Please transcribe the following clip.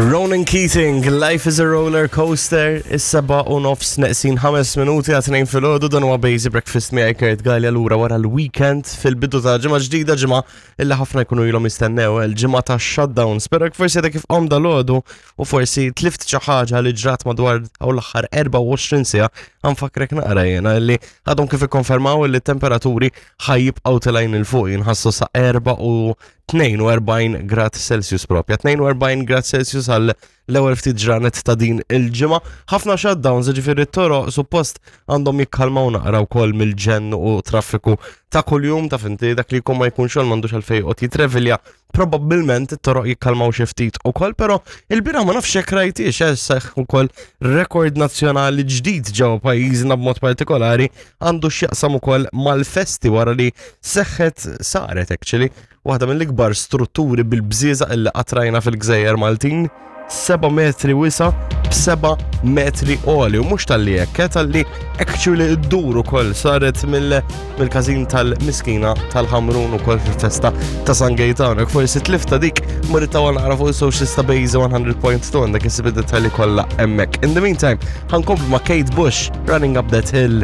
Ronan Keating, Life is a Roller Coaster, is-seba u nofs neqsin ħames minuti għat-tnejn filgħodu dan huwa Basic Breakfast miegħi Kurt Gallia lura wara l-weekend fil-bidu ta' ġimgħa ġdida ġimgħa illi ħafna jkunu ilhom jistennew il-ġimgħa ta' shutdown. Spero forsi għadek kif qom dal-għodu u forsi tlift xi ħaġa li ġrat madwar hawn l-aħħar 24 siegħa nfakkrek naqra jiena illi għadhom kif ikkonfermaw li t-temperaturi ħajjibqgħu telgħin 'il fuq jinħassu sa 4 u 42 grad Celsius propja. 42 grad Celsius għal l-ewwel ftit ġranet ta' din il-ġimgħa. Ħafna shutdowns, ġifieri t-toroq suppost għandhom jikkalmaw naqra wkoll mill-ġenn u traffiku ta' kuljum ta' finti dak li jkun ma jkun xogħol m'għandux għalfejn joqgħod jitrevilja. Probabbilment it-toroq jikkalmaw xi ftit ukoll, però il-bieraħ ma nafx jekk rajtix eh, seħħ ukoll rekord nazzjonali ġdid ġewwa pajjiżna b'mod partikolari għandu x'jaqsam ukoll mal-festi wara li seħħet saret actually waħda mill-ikbar strutturi bil-bżieżaq illi qatt rajna fil-gżejjer Maltin, 7 metri wisa b'7 metri għoli u mhux talli hekk, eh, talli actually ddur ukoll saret mill-każin tal-miskina tal-Ħamrun ukoll fil-festa ta' San Gaetano. Forsi tlifta dik murita naqra fuq il-social ta' Base 100.2 għandek issib id-dettalji kollha hemmhekk. In the meantime, ħankomplu ma' Kate Bush, Running Up That Hill.